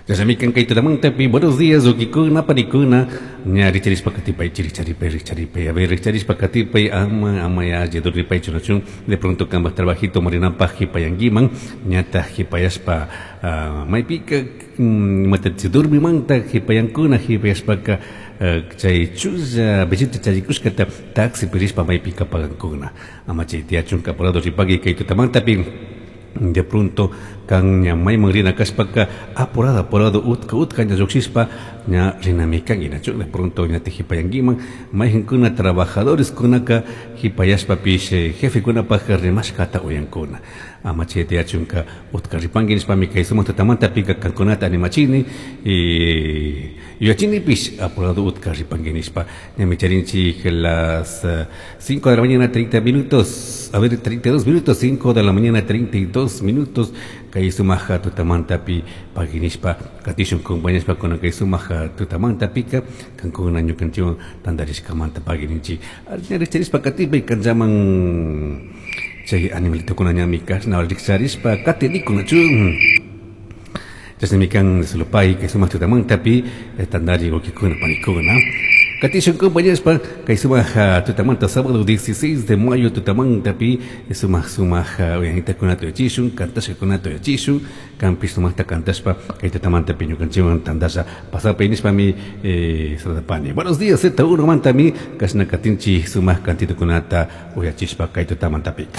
Chashnami kay tutamantapi buenos días ukikuna panikuna ña richarishpa katipay richaripay richaripay a ver richarishpa katipay ama ama ya dormipaychu nachun de pronto kambaj trabajito marinapaj jipayankiman ñataj jipayashpa maypika imata dormimanta jipayankuna jipayashpaka chay chulla billete charikushkata taxipi rishpa maypika pagankuna ama chay tiyachunka apurado ripagui kay tutamantapi de pronto kan ña mayman rina kashpaka apurado apurado utka utka ña llukshishpa ña rinami kanki nachu de pronto ñatik jipayankiman mayjankuna trabajadores kunaka jipayashpapish jefekunapaj rimashkata uyankuna ama chay tiyachunka utka ripanki nishpami kay sumak tutamantapika kankunata animachini yuyachinipish apurado utka ripanki nishpa ñami charinchik las 5 de la mañana 30 minutos a ver 32 minutos 5 de la mañana 32 minutos kay sumaja tutamantapi pagui nishpa katishun compañashpa kuna kay sumaja tutamantapika kankuna ñukanchikwan tantarishkamanta pagui ninchik richarishpa katipay kanllaman chay animalitokuna ñami kashna rikcharishpa katinikunachu chashnami kan sulupay kay sumak tutamantapi tantari wawkikuna panikuna Katishun compañashpa kay sumak tutamanta sábado 16 de mayo tutamantapi sumak sumak uyanitakuna tuyachishun kantashkakuna tuyachishun kanpish sumakta kantashpa kay tutamantapi ñukanchikwan tantasha pasapay nishpami saludapani. Buenos días Z1 mantami kashna katinchik sumak kantitukunata uyachishpa kay tutamantapika.